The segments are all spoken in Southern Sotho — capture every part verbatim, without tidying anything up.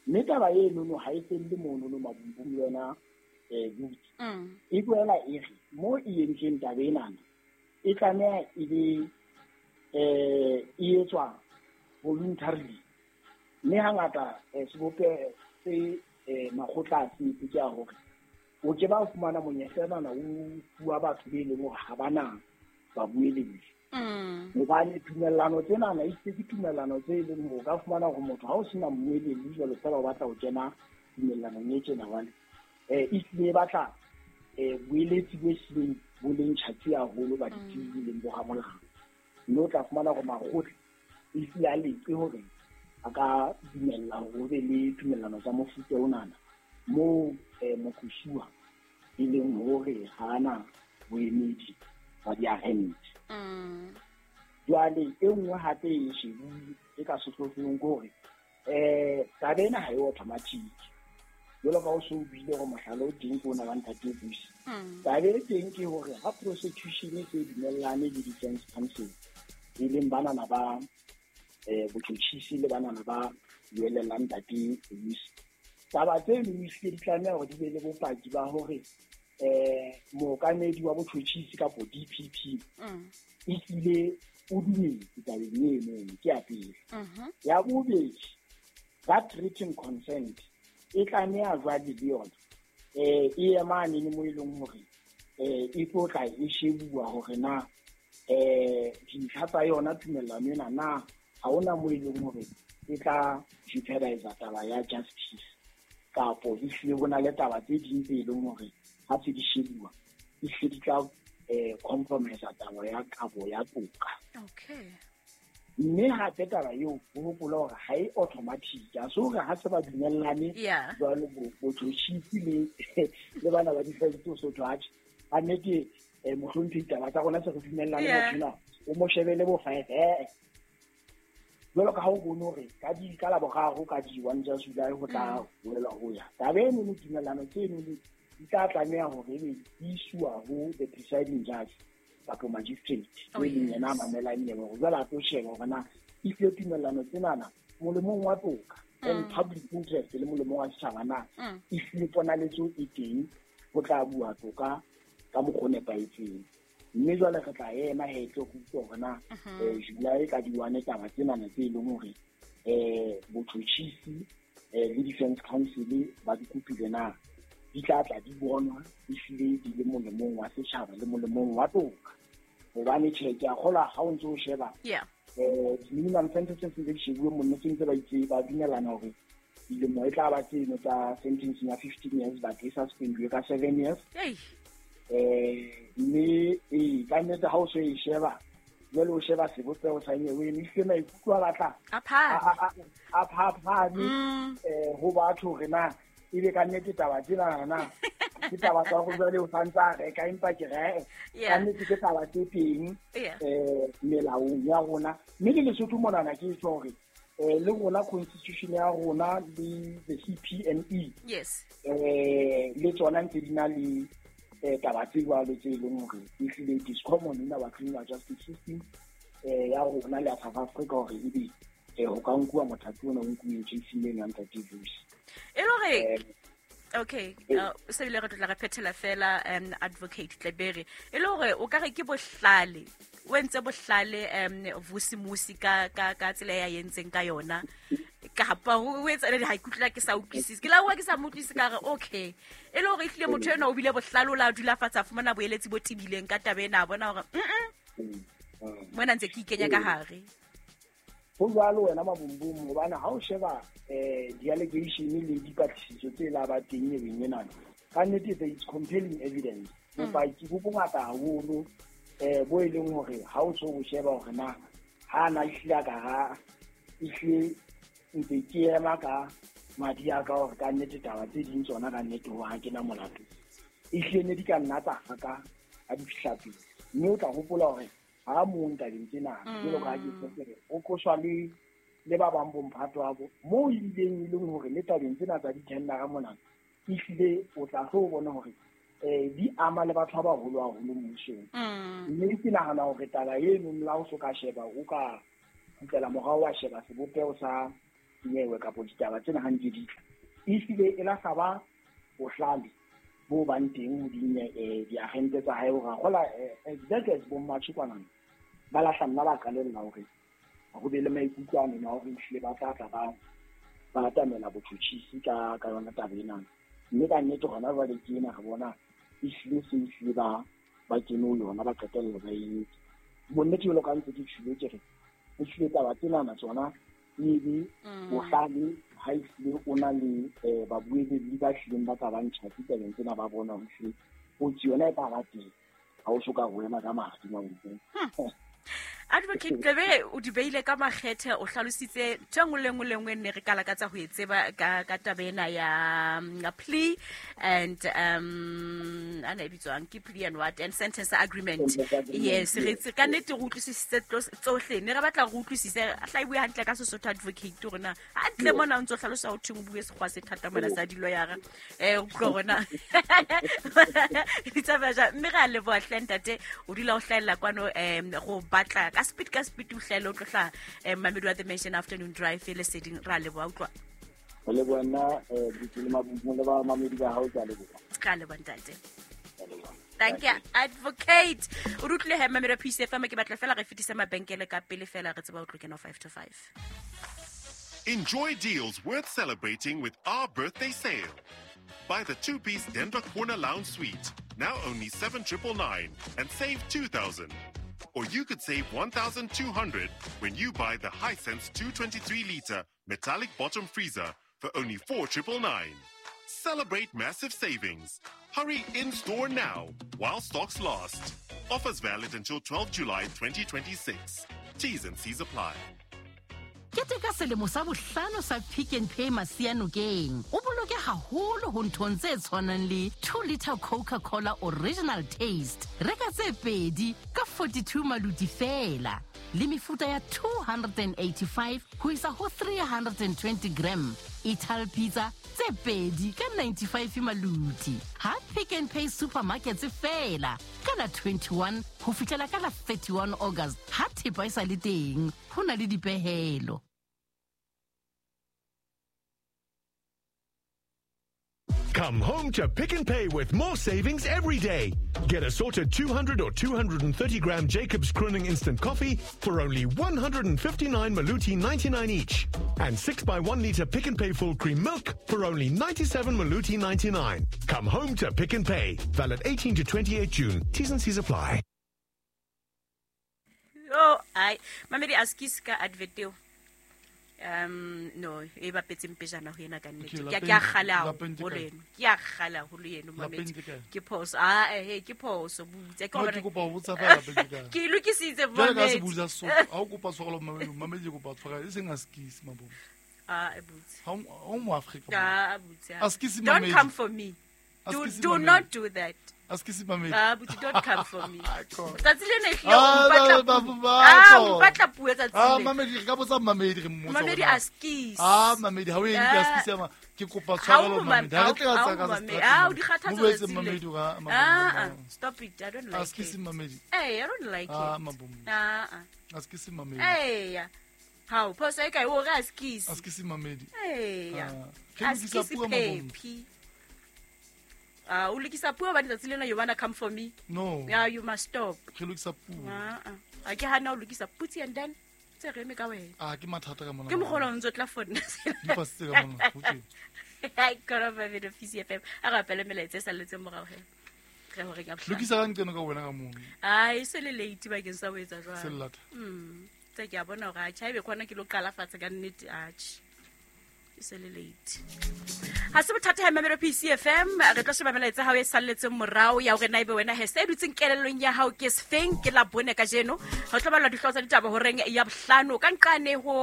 Mme taba enono ha e felle monono Mabumbung le wena um butse. E boela e re mo e entsweng taba enana e tlameha e be um e etswa voluntarily. Mme hangata sebopeho se makgotla a se etse ke a hore o ke ba fumana monyetla enana o fuwa batho be leng hore ha ba na babueledi. Hobane tumellano tsenana e ke tumellano tse leng hore o ka fumana hore motho ha o sena mmueledi jwalo fela o batla ho kena tumellanong e tjena jwale eh e hlile e batla eh boeletsi bo hlileng bo leng tjhatsi haholo ba ditsebi leng bo ramolao. Mme o tla fumana hore makgotla e hlile a leke hore a ka dumella hore ho be le tumellano tsa mofuta onana moo moqosuwa e leng hore ha ana boemedi ba diarente. Jwale e nngwe hape e shebuwe e ka sehlohlolong ke hore um taba ena ha e automatic. Jwalo ka o so o buile hore mohlala o teng ke ona wa ntate Vusi. Taba e teng ke hore ha prosecution e se dumellane le defense counsel e leng banana ba um botjhotjhisi le banana ba buellang ntate Vusi, taba tseno ehlile di tlameha hore di be le bopaki ba hore eh mookamedi wa botjhotjhisi kapo D P P ehlile o dumetse tabeng eno, ke ya pele. Ya bobedi, that written consent e tlameha jwale le yona eh e emane le mo e leng hore eh e tlo tla e shebuwa hore na eh dintlha tsa yona tumellano ena na ha hona mo e leng hore e tla jeopardize taba ya justice kapo ehlile ho na le taba tse ding tse leng hore ha se di shebuwa ehlile di tla eh compromise taba ya kabo ya toka. Okay. Mme hape taba eo o hopola hore ha e automatic, a se hore ha se ba dumellane jwalo botjhotjhisi le le bana ba defense so judge a nnete mohlomphehi taba tsa rona se re dumellane motho ena o mo shebele bo five eh jwalo ka ha o bone hore ka di ka laboraro ka di one tsa July ho tla boela ho ya taba eno le tumellano tseno di tla tlameha hore ebe di iswa ho the presiding judge kapo magistrate Oh, e leng yena a yes. mamelang nyewe hore jwale a tlo sheba hore na ehlile tumellano tsenana molemong wa toka and public interest le molemong wa setjhaba na ehlile ponaletso e teng ho tla bua toka ka mokgwa o nepahetseng. Mme jwale re tla ema he tlo go utlwa hore na eh July ka di one taba tsenana tse leng hore eh botjhotjhisi eh le defense counsel ba di kopile na di tla tla di bonwa ehlile di le molemong wa setjhaba le molemong wa toka. Hobane tjhe ke a kgolwa ha o ntso o sheba Yeah. eh minimum sentences tse di shebuwe monno tse ntse ba itse ba dumellana hore dilemo e tla ba tseno tsa sentencing ya fifteen years but e suspendiwe ka seven years. Ei. Eh mme e ka nnete ha o so e sheba jwale o sheba sebopeho sa nyewe eno ehlile maikutlo a batla A phahame. a, a, a phaphame Mm. eh ho batho hore na ebe ka nnete taba tsena na ke taba tsa hore jwale o santse a reka empa ke re Yeah. ka nnete ke taba tse teng Yeah. eh melaong ya rona. Mme le Lesotho monana ke tjho hore eh le rona constitution ya rona le the C P M E Yes. eh le tsona ntse di na le eh taba tse jwalo tse leng hore ehlile it is common in our criminal justice system eh ya rona le ya South Africa hore ebe eh ho ka nkuwa mothapi ona o nkuweng case-ing eno ya ntate Vusi. E le hore Eh, okay, uh, se bile re tlo tla re phethela fela um advocate Tlebere. E le hore o ka re ke bohlale, o entse bohlale um Vusi Musi ka ka ka tsela ya entseng ka yona. Kapa o etsa le ha ikutlwa ke sa utlwisise. Ke la bua ke sa mo utlwisise ka re okay. E le hore ehlile motho enwa o bile bohlale o la dula fatshe a fumana boeletsi bo tebileng ka taba ena, a bona hore mm mona ntse ke ikenya ka hare. Ho jwalo wena Mabumbung, hobane ha o sheba eh di-allegation le dipatlisiso tse la ba teng nyeweng enana, ka nnete there is compelling evidence. Bopaki bo bongata haholo eh bo e leng hore ha o so o sheba hore na ha na ehlile a ka ha ehlile ntse ke ema ka madi a ka hore ka nnete taba tse ding tsona ka nnete ho ha ke na molato, ehlile ne di ka nna tsa haka ha di fihla pele. Mme o tla hopola hore ha mong tabeng tsena jwalo ka ha ke se re o qoswa le le ba bang bo mphato wa bo moo ebileng e leng hore le tabeng tsena tsa di-tendera mona ehlile o tla tlo bona hore eh di ama le batho ba baholo haholo mmusong. Mme ke nahana hore taba eno la o so ka sheba o ka kgutlela morao wa sheba sebopeho sa nyewe kapo ditaba tsena ha ntse di tla ehlile e la sa ba bohlale bo bang teng ho di diagente tsa hae hore gola exactly as bo Mmatjhe kwana ba lahla nna ba qalella hore go be le maikutlo a nna hore ehlile ba tla tla ba ba atamela botjhutjhisi ka ka yona taba ena mme ka nnete hona jwale ke ena re bona ehlile se ehlile ba ba kene ho yona ba qetella ba e entse. Bonnete jwalo ka ntse ke tjhilo ke re ehlile taba tsenana tsona ebe bohlale ha ehlile o na le babueledi ba hlileng ba ka ba ntjhatsi tabeng tsena ba bona hore ehlile kotsi yona e tla ba teng ha o soka ho ema ka madi mabotlong. Advocate Tlebe o di beile ka makgethe o hlalositse ntho e nngwe le nngwe le nngwe ne re ka lakatsa ho e tseba ka ka taba ena ya ya plea and um ana e bitswang ke plea and what and sentence agreement. Yes, re tse ka nnete re utlwisisitse tsohle ne re batla re utlwisise a hla e bue hantle ka Sesotho advocate hore na hantle mona o ntso hlalosa ho thweng o bue sekgwa se thata mona sa diloyara eh o utlwe hore na di tsamaya jwang. Mme re a leboha hle ntate o dula o hlahella kwano um go batla ka speed ka speed o hlahella o tlo hlaha um mamedi wa The Mansion Afternoon Drive le leseding ra leboha utlwa. Ho leboha nna eh le mabumo le ba mamedi ba hao ka leboha. Ka leboha ntate. Thank you advocate. O rutlile he mamedi wa P C F M ke batla fela re fetise mabenkele ka pele fela re tseba o tlo kena five to five. Enjoy deals worth celebrating with our birthday sale. Buy the two-piece Denver Corner Lounge Suite, now only seven triple nine, and save two thousand. Or you could save one thousand two hundred when you buy the Hisense two twenty-three liter metallic bottom freezer for only four triple nine. Celebrate massive savings. Hurry in-store now while stocks last. Offers valid until twelfth July twenty twenty-six. T's and C's apply. Keteka selemo sa bohlano sa Pick n Pay Masianokeng. O boloke haholo ho nthong tse tshwanang le two liter Coca-Cola original taste. Reka tse pedi ka forty-two maluti fela. Le mefuta ya two hundred eighty-five ho isa ho three hundred twenty gram. Ital pizza tse pedi ka ninety-five maluti. Ha Pick n Pay supermarkets fela ka la twenty-one ho fihlela ka la thirty-one August. Ha thepa e sa le teng, ho na le dipehelo. Come home to Pick n Pay with more savings every day. Get assorted two hundred or two hundred thirty gram Jacobs Crooning Instant Coffee for only one hundred fifty-nine Maluti ninety-nine each. And six by one litre Pick n Pay full cream milk for only ninety-seven Maluti ninety-nine. Come home to Pick n Pay. Valid eighteen to twenty-eight June. T's and C's apply. Oh, ai. Mamedi askis ka advert eo. Um no e bapetseng pejana ho ena ka nnete ke ke a kgala haholo eno ke a kgala haholo eno mamedi ke phoso ah eh ke phoso butse ke hore ke kopa ho botsa fela lapeng ke ke lokisitse mamedi ka se butsa so ha o kopa tshwarelo mamedi mamedi ke kopa tshwarelo e seng askisi mabomo ah e butse ha o mo Afrika ah butse askisi mamedi don't come for me do do not do that askisi mamedi ah but don't come for me tsatsi lena ehlile o mpatla ah o mpatla puo tsatsi ah mamedi re ka botsa mamedi re mmotsa mamedi askisi ah mamedi ha o eng ke askisi ama ke kopa tshwarelo mamedi ha re tla tsa ka ah o di kgathatsa tsatsi mamedi ga ah stop it I don't like it askisi mamedi eh I don't like it ah mabomo ah askisi mamedi eh ha o phoso e kae o re askisi askisi mamedi eh askisi pepi. Ah, o lokisa puo ba letsatsi lena you wanna come for me? No. Yeah, you must stop. Ke lokisa puo. Ah ah. A ke hana o lokisa putsi and then tse re eme ka wena. Ah, ke mathata ka mona. Ke mogolo o ntse tla fona. Di pasitse ka mona. Ho teng. Ai kora ba video P C F M. A re apele melaetsa e salletseng morao he. Re hore ka bohlano. Lokisa ka nqeno ka wena ka mono. Ai, se le late bakeng sa ho etsa jwalo. Se lata. Mm. Tse ke a bona hore a tjha ebe khona ke lo qala fatshe ka nnete atjhe. Se le late. Ha se bothata ha mamelo P C F M re tlo sheba melaetsa hao e salletseng morao ya hore na ebe wena he se dutseng kelellong ya hao ke sefeng ke la bone kajeno ho tlo balwa dihlooho tsa ditaba horeng ya bohlano ka nqane ho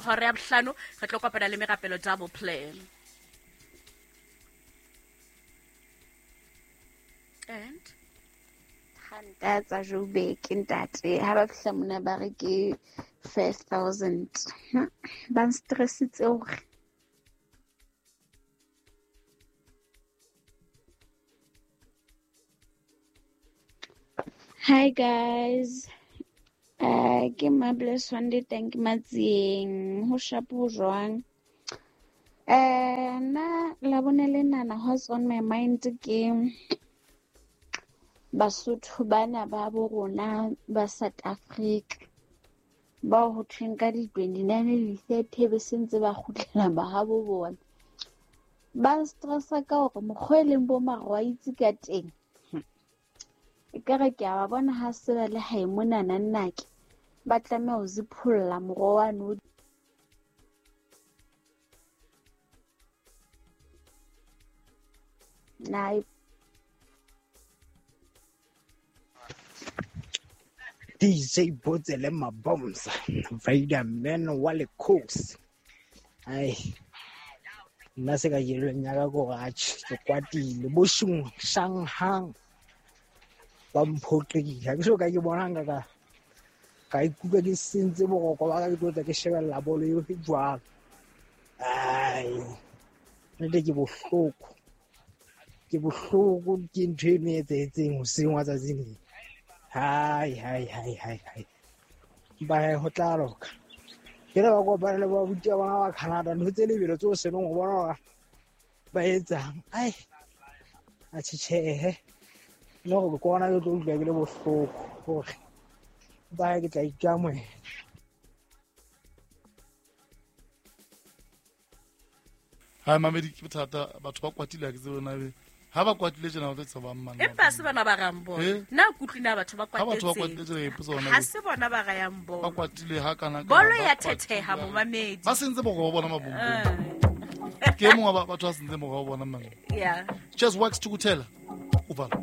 hore ya bohlano re tlo kopana le merapelo double play and Nta tsa Joburg ntate ha ba fihla mona ba re ke five thousand ba nstressitse hore. Hi guys, uh, Ke Mables Wande teng ke Matsieng ho shapo jwang. Eh nna la bone lenana what's on my mind ke Basotho bana ba bo rona ba South Africa ba ho thweng ka di twenty-nine le thirty be sentse ba kgutlela ba ha bo bona. Ba stressa ka hore mokgwa e leng bo marwaitsi ka teng. Ekare ke a ba bona ha se ba le hae monana nnake ba tlameha ho zipholla moroho wane o na D J Botsele Mabomsa Vader Man wa lekhosi. Ai nna se ka jelweng ya ka ko atjhe ke kwatile bo shung Shanghang ba mphoqile ha ke so ka ke bona nka ka ka ikutlwa ke sentse boroko ba ka ke tlo tla ke shebella bolo eo e jwalo. Ai nnete ke bohloko ke bohloko ke ntho eno e etsahetseng hoseng wa tsatsing lena. Hai hai hai hai hai ba ho tla loka ke le ba kopana le ba buti ba bona ba Canada ntho tse lebelo tseo senong ho bona hore ba etsang. Ai a tjhehe le hore ke bona ke tlo utlwa ke le bohloko hore ba ke tla ikamohela. Ha mamedi ke bothata batho ba kwatile ha ke tsebe na be ha ba kwatile tjena ba tla tsaba mang empa se bana ba rang bona nna kutlwi na batho ba ha batho ba kwatetse kwatile tjena ipotsa hona ha se bona ba rayang ba bona kwatile ha kana kana bolo ba ya kwatile thetheha ha. momamedi Ba sentse boko ba bona mabombong Eh, ke e mongwe wa ba- batho ba sentse boko ba bona mang yeah just works to kutela uvala.